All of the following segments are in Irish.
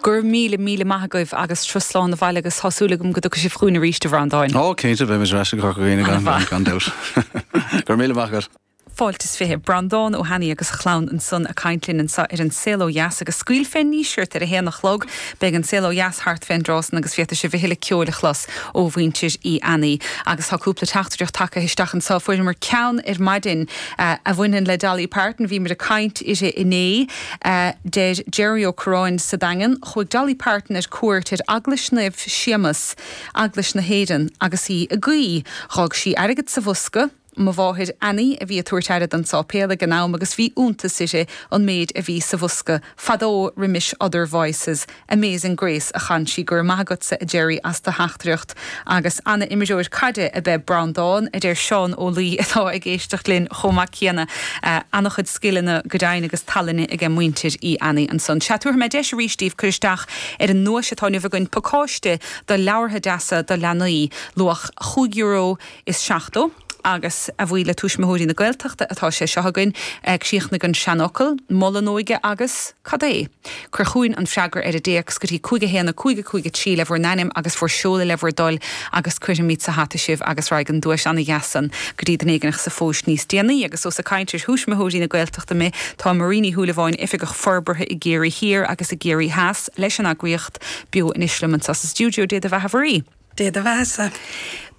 Go raibh míle, míle maith agaibh agus turas slán abhaile agus tá súil agam go dtiocfaidh sibh chugainn arís, a Bhreandáin. Ó, cinnte, beimid ar ais i gCorca Dhuibhne gan, gan dabht. Go raibh míle maith agat. Fáilte is 20. Breandán Ó hAnnaidh agus a chlann ansan ag caint linn anso ar An Saol Ó Dheas agus scaoil fén nDíseart ar a haon a chlog. Beidh An Saol Ó Dheas thart fén dtráth san agus féadfaidh sibh a thuilleadh ceoil a chlos ó mhuintir Uí Annaidh. Agus tá cúpla teachtaireacht tagtha isteach anso. Fuaireamar ceann ar maidin a bhaineann le Dolly Parton. Bhíomar ag caint uirthi inné. Deir Jerry Ó Curráin sa Daingean, Chuaigh Dolly Parton ar cuairt ar Eaglais Naomh Séamas, Eaglais na hÉireann, agus í ag guí. Dh'fhág sí airgead sa bhosca. Mo mháthair Annie a bhí ag tabhairt aire don sáipéal ag an am agus bhí iontas uirthi an méid a bhí sa bhosca fadó roimis Other Voices, Amazing Grace a chan sí. Go raibh maith agatsa a Jerry as do theachtaireacht agus ana-imreoir caide ab ea Breandán, a deir Seán Ó Laoi atá ag éisteacht linn chomh maith céanna. Ana-chuid scileanna go deimhin agus tallainne aige muintir Uí Annaidh ansan. Sea, tabharfaidh mé deis arís daoibh cur isteach ar an nduais atá inniu againn, pacáiste de leabhartha deasa do leanaí, luach €5 is 70, agus a bhuí le Tuismitheoirí na Gaeltachta atá sé seo againn. Críochnaigh an seanfhocal, Mol an óige agus. Cad é? Cuir chugainn an freagra ar an dtéacs go dtí 5 1 5 5 3 le bhur n-ainm agus bhur seoladh le bhur dtoil agus cuirfimid sa hata sibh agus raghaidh an duais ana-dheas san go dtí duine éigin sa phost níos déanaí. Agus ós ag caint ar Thuismitheoirí na Gaeltachta mé, tá Marie Ní Shúilleabháin, Oifigeach Forbartha i gCiarraí Thiar agus i gCiarraí Theas leis an eagraíocht, beo anois liom anseo sa stiúideo. Dé do bheatha, a Mharie. Dé do bheathasa.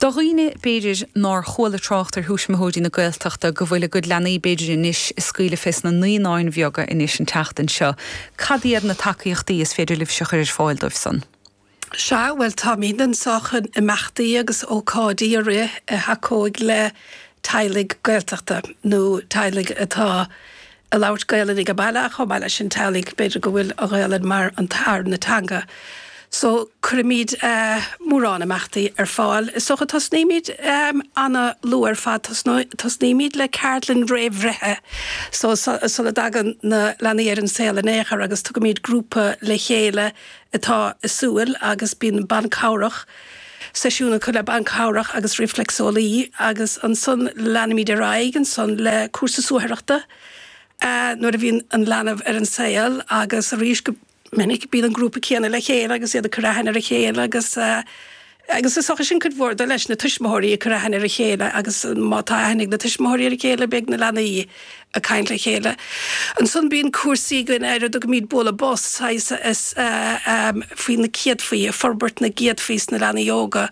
Do dhaoine, b'fhéidir, nár chuala trácht ar Thuismitheoirí na Gaeltachta, go bhfuil a gcuid leanaí, b'fhéidir, anois ag scaoileadh fés na naíonáin bheaga anois an tseachtain seo, cad iad na tacaíochtaí is féidir libhse a chur ar fáil dóibh san? Sea, bhuel, táimid anseo chun imeachtaí agus ócáidí a rith a thacóidh le teaghlaigh Gaeltachta nó teaghlaigh atá ag labhairt Gaelainn ag an baile ach chomh maith leis sin teaghlaigh b'fhéidir go bhfuil an Ghaelainn mar an tarna teanga. So cuirimid mórán imeachtaí ar fáil. Is dócha tosnaímid ana-luath ar fad, tosnaímid le ceardlann réamhbhreithe so sula dtagann na leanaí ar an saol in aon chor agus tugaimid grúpa le chéile atá ag súil agus bíonn banc cabhrach, seisiún acu le banc cabhrach agus rifléacseolaí agus ansan leanaimid ar aghaidh ansan le cúrsa suathaireachta nuair a bhíonn an leanbh ar an saol agus arís go minic bíonn an grúpa céanna le chéile agus iad ag cur aithne ar a chéile agus agus is dócha sin cuid mhór de leis na tuismitheoirí ag cur aithne ar a chéile agus má tá aithne ag na tuismitheoirí ar a chéile beidh na leanaí ag caint le chéile. Ansan bíonn cúrsaí againn ar a dtugaimid bualadh bos, saghas faoi na céadfaí, forbairt na gcéadfaí sna leanaí óga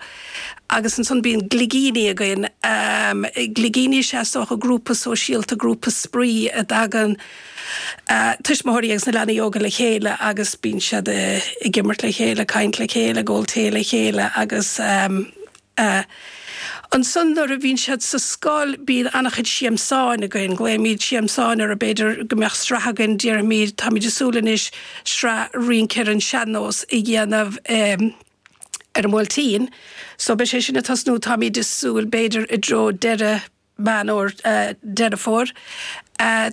agus ansan bíonn gligíní againn. Gligíní is ea is dócha grúpa sóisialta, grúpa spraoi a dtagann tuismitheoirí agus na leanaí óga le chéile agus bíonn siad ag imirt le chéile, ag caint le chéile, ag ól tae le chéile agus. Ansan nuair a bhíonn siad sa scoil bíonn an-chuid siamsáin againn, glaoimid siamsáin orthu, b'fhéidir go mbeadh sraith againn, déarfaimid, táimid ag súil anois sraith rince ar an sean-nós a dhéanamh ar an mBuailtín, so beidh sé sin ag tosnú, táimid ag súil b'fhéidir i dtreo deireadh Meán Fómhair, Deireadh Fómhair.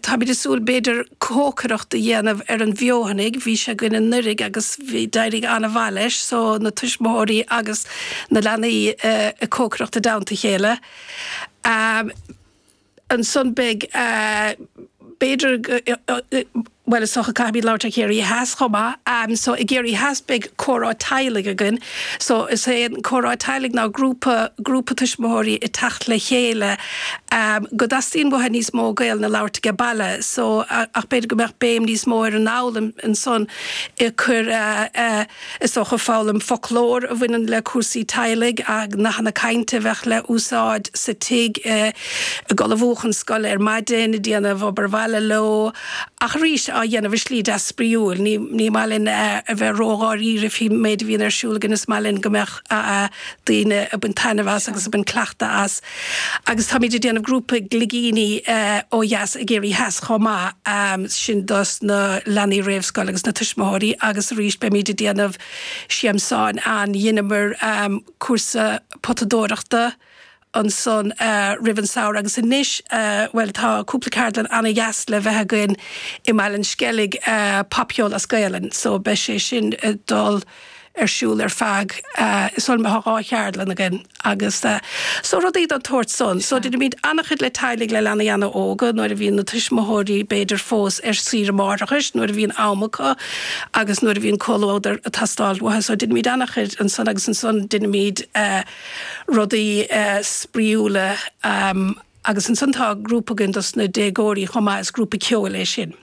Táimid ag súil b'fhéidir cócaireacht a dhéanamh ar an bhfeothanaigh, bhí sé againn anuraidh agus bhí, d'éirigh an-mhaith leis, so na tuismitheoirí agus na leanaí ag cócaireacht i dteannta a chéile. Ansan beidh, b'fhéidir, Bhuel, is dócha caithfimid labhairt ar Chiarraí Theas chomh maith. So i gCiarraí Theas beidh comhrá teaghlaigh againn. So is é an comhrá teaghlaigh ná grúpa, grúpa tuismitheoirí ag teacht le chéile go dteastaíonn uathu níos mó Gaelainn a labhairt age baile. So ach b'fhéidir go mbeadh béim níos mó ar an fhoghlaim ansan ag cur Is dócha foghlaim foclóir a bhaineann le cúrsaí teaghlaigh, nathanna cainte a bheadh le úsáid sa tigh, ag ullmhú chun scoile ar maidin, ag déanamh obair bhaile leo, ach arís á dhéanamh i slí deas spraíúil. Ní ní maith linn a bheith ródháiríre faoin méid a bhíonn ar siúl againn, is maith linn go mbeadh daoine ag baint taitneamh as agus ag baint cleachtadh as. Agus táimid ag déanamh grúpa gligíní ó dheas i gCiarraí Theas chomh maith, sin dos na leanaí réamhscoile agus na tuismitheoirí agus arís beimid ag déanamh siamsáin ann. Dheineamar cúrsa potadóireachta ansan roimh an samhradh agus anois, bhuel tá cúpla ceardlann ana-dheas le bheith againn i mBaile an Sceilg, popcheol as Gaelainn, so beidh sé sin ag dul. ar siúl ar feadh, is dóigh liom tá 2 cheardlann againn agus so rudaí den tsórt san. So deinimid an-chuid le teaghlaigh le leanaí an-óga nuair a bhíonn na tuismitheoirí b'fhéidir fós ar saoire máithreachais nuair a bhíonn am acu agus nuair a bhíonn comhluadar ag teastáil uathu. So deinimid an-chuid ansan agus ansan deinimid rudaí spraíúla agus ansan tá grúpa againn dos na déagóirí chomh maith, is grúpa ceoil é sin.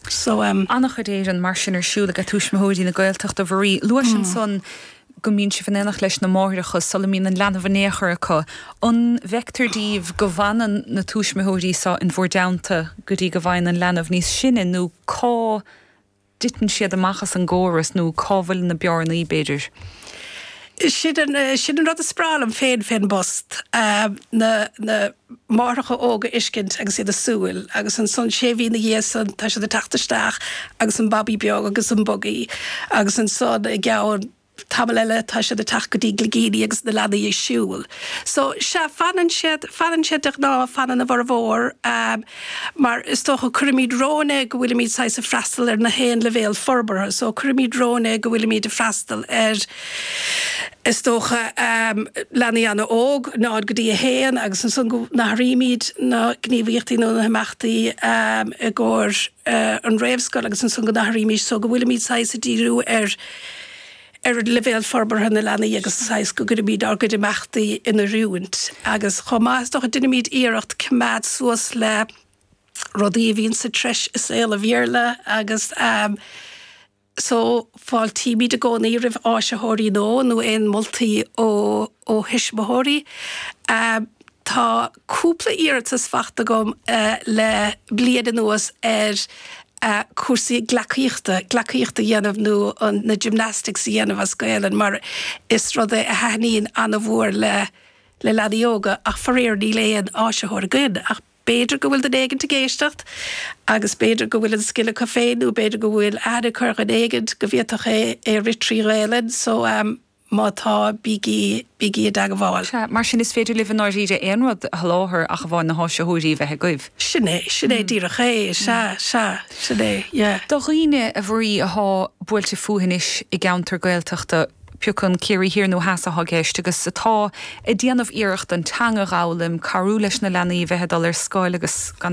So. An-chuid Éireann mar sin ar siúl ag Tuismitheoirí na Gaeltachta, a Mharie. Luais ansan go mbíonn sibh in éineacht leis na máithreacha sula mbíonn an leanbh in aon chor acu. An bhfeictear daoibh go bhfanann na tuismitheoirí seo in bhur dteannta go dtí go bhfaigheann an leanbh níos sine nó cá dtiteann siad amach as an gcóras nó cá bhfuil na bearnaí, b'fhéidir? Sin an, sin an rud is breá liom féin fén bpost, na, na máithreacha óga a fheiscint agus iad ag súil agus ansan sé mhí ina dhiaidh san tá siad ag teacht isteach agus an babaí beag agus an bugaí agus ansan i gceann tamall eile tá siad ag teacht go dtí gligíní agus na leanaí ag siúl. So, sea, fanann siad, fanann siad de ghnáth, fanann a bhformhór, mar is dócha cuirimid romhainn é go bhfuilimid saghas ag freastal ar na haon leibhéal forbartha, so cuirimid romhainn é go bhfuilimid ag freastal ar, is dócha, leanaí an-óg, 0 go dtí 1, agus ansan go n-athraímid na gníomhaíochtaí nó na himeachtaí i gcomhair an réamhscoil agus ansan go n-athraímid so go bhfuilimid saghas ag díriú ar ar leibhéal forbartha na leanaí agus saghas go gcuirimid ár gcuid imeachtaí in oiriúint agus chomh maith is dócha deinimid iarracht coimeád suas le rudaí a bhíonn sa treis i saol an Bhéarla agus so fáiltímid i gcónaí roimh áisitheoirí nua nó aon moltaí ó ó thuismitheoirí. Tá cúpla iarratas faighte agam le bliain anuas ar cúrsaí gleacaíochta, gleacaíocht a dhéanamh nó an, na gymnastics a dhéanamh as Gaelainn mar is rud é a thaitníonn an-mhór le, le leanaí óga ach faraor níl aon áisitheoir againn ach b'fhéidir go bhfuil duine éigint ag éisteacht agus b'fhéidir go bhfuil an scil acu féin nó b'fhéidir go bhfuil aithne acu ar dhuine éigint go bhféadfadh é, é a rith trí Ghaelainn so. Má tá, bígí, bígí i dteagmháil. Sea, mar sin is féidir libh i ndáiríre aon rud a sholáthar ach amháin na háisitheoirí a bheith agaibh. Sin é, sin é díreach é, sea, sea, sin é, yeah. Do dhaoine, a Mharie, athá buailte fúthu anois i gceantar Gaeltachta, pé acu an Ciarraí Thiar nó Theas athá i gceist, agus atá ag déanamh iarracht an teanga dh'fhoghlaim, cabhrú leis na leanaí a bheith ag dul ar scoil agus gan.